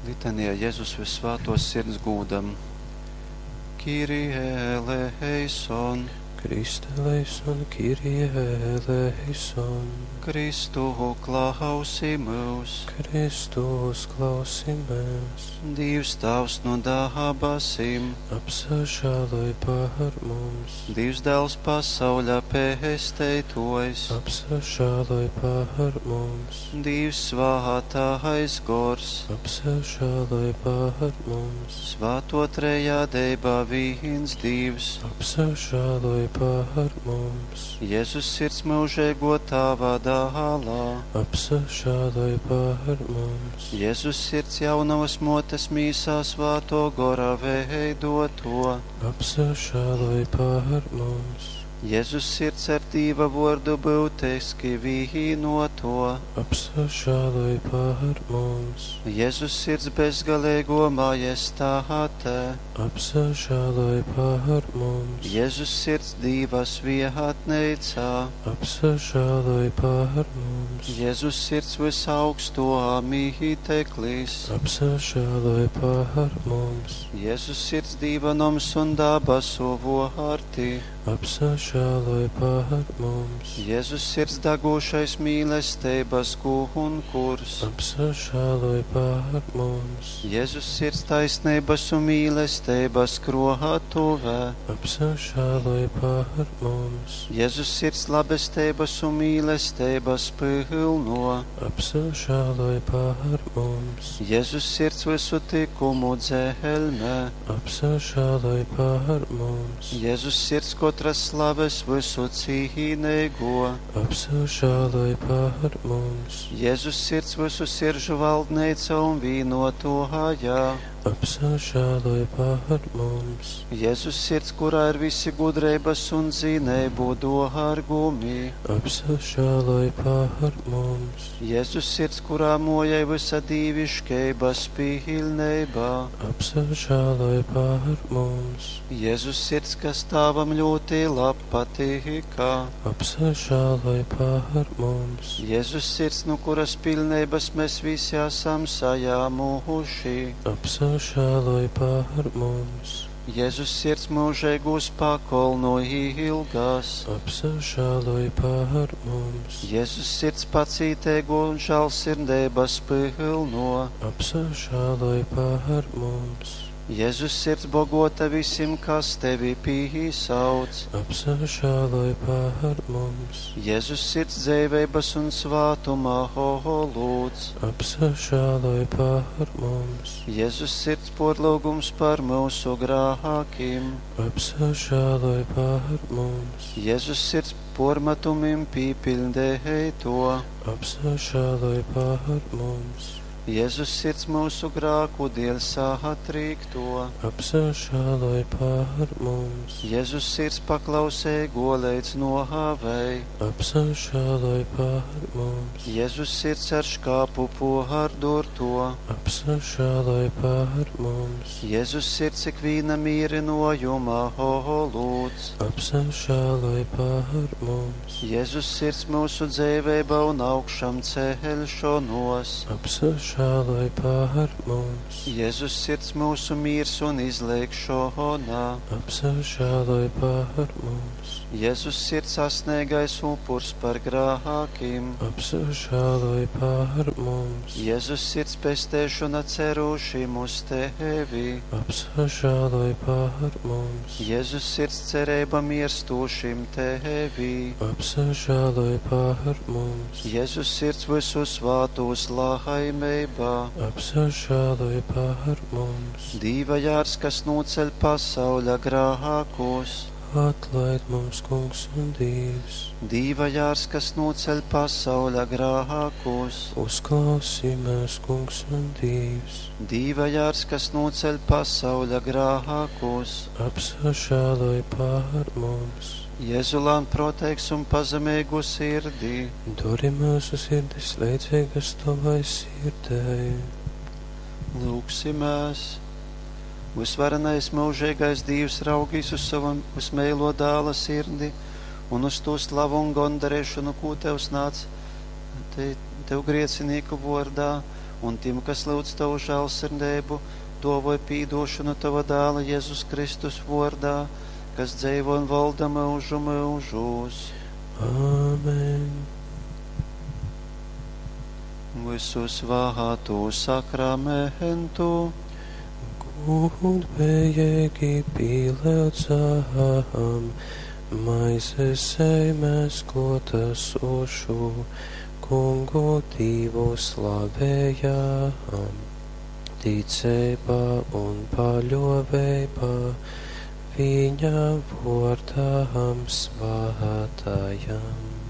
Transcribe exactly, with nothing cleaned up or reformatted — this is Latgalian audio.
Litanija Jezus Vyssvātōs Sirds gūdam. Kyrie eleison. Christe eleison, Kyrie eleison. Kristu klausi myus. Kristus klausi mēs. Dīvs Tāvs nu dabasim. Apsažāloj par mums. Dīvs Dēls pasauļa pesteituojs. Apsažāloj par mums. Dīvs Svātais Gors. Apsažāloj par mums. Svāto trejādeiba vīns Dīvs. Apsažāloj par mums. Jēzus sirds mūžīgo Tāva dālā. Apsažāloj par mums. Jēzus sirds jaunavas motes mīsā svāto gora veidoto. Apsažāloj par mums. Jēzus sirds ar Dīva vordu būtiski vīnoto. Apsažāloj par mums. Jēzus sirds bezgalīgo majestāte. Apsažāloj par mums. Jēzus sirds Dīva svietneicā. Apsažāloj par mums. Jēzus sirds visaugsto mīteklis. Apsažāloj par mums. Jēzus sirds Dīva noms un dabasu vārti. Apsažāloj par mums. Jēzus sirds dagošais mīlestības gunkurs. Apsažāloj par mums. Jēzus sirds taisnības un mīlestības krohatuvē. Apsažāloj par mums. Jēzus sirds labestības un mīlestības pilno. Apsažāloj par mums. Jēzus sirds visu tikumu dzelmē. Apsažāloj par mums. Jēzus sirds katras slaves visu cīnīgo. Apsažāloj par mums. Jēzus sirds visu siržu valdneica un vīnotohājā. Apsažāloj par mums. Jēzus sirds, kurā ir visi gudrības un zinību dārgumi. Apsažāloj par mums. Jēzus sirds, kurā mojai visa dīviškeibas pilnībā. Apsažāloj par mums. Jēzus sirds, kas Tāvam ļoti lab patīkā. Apsažāloj par mums. Jēzus sirds, no kuras pilnības mēs visi esam sajāmuši. Apsažāloj par mums. Jēzus sirds mūžīgūs pakolnu ilgas. Apsažāloj par mums. Jēzus sirds pacītēgo un žēlsirdības pilno. Apsažāloj par mums. Jēzus sirds bogota visiem, kas tevi pīsauc. Apsažāloj par mums. Jēzus sirds dzīvības un svātuma holūds. Apsažāloj par mums. Jēzus sirds porlūgums par mūsu grākiem. Apsažāloj par mums. Jēzus sirds pormetumim pīpildēto. Apsažāloj par mums. Jēzus sirds mūsu grāku dēļ satrīkto. Apsažāloj par mums. Jēzus sirds paklausēgo līdz nohāvei. Apsažāloj par mums. Jēzus sirds ar škāpu pohardurto. Apsažāloj par mums. Jēzus sirds ikvīna mīrinojuma holūds. Apsažāloj par mums. Jēzus sirds mūsu dzīvība un augšām celšanos. Apsažāloj par mums. Jēzus sirds mūsu miers un izlēkšana. Apsažāloj par mums. Jēzus sirds sasniegais upurs par grākiem. Apsažāloj par mums. Jēzus sirds pestēšana cerušim uz tevi. Apsažāloj par mums. Jēzus sirds cerība mirstošim tevi. Apsažāloj par mums. Jēzus sirds visu svātos laimībā. Apsažāloj par mums. Dīva jārs, kas noceļ pasauļa grākos. Atlaid mums, Kungs un Dievs. Dīva jārs, kas noceļ pasauļa grākos. Uzklausī mēs, Kungs un Dievs. Dīva jārs, kas noceļ pasauļa grākos. Apsažāloj par mums. Jēzulān proteiks un pazemīgu sirdī. Dori mūsu sirdis līdzīgas tavai sirdei. Lūgsimies! Visvarenais mūžīgais Dievs raugīs uz savu vismēlo dāla sirdi un uz to slavu un gondarēšanu, ko tev snāc te, tev griecinīku vordā, Un tim, kas lūdz Tavu žēlsirdību, dāvoj pīdošanu Tava dēla Jēzus Kristus vārdā, kas dzīvo un valda mūžu mūžos. Āmen. Visu svātu sakramentu. Gudbējīgi pielūdzam, maizes zemes klotasošu, Kungu Dievu slavējam, ticībā un paļoveibā, viņa vārdam svētajam.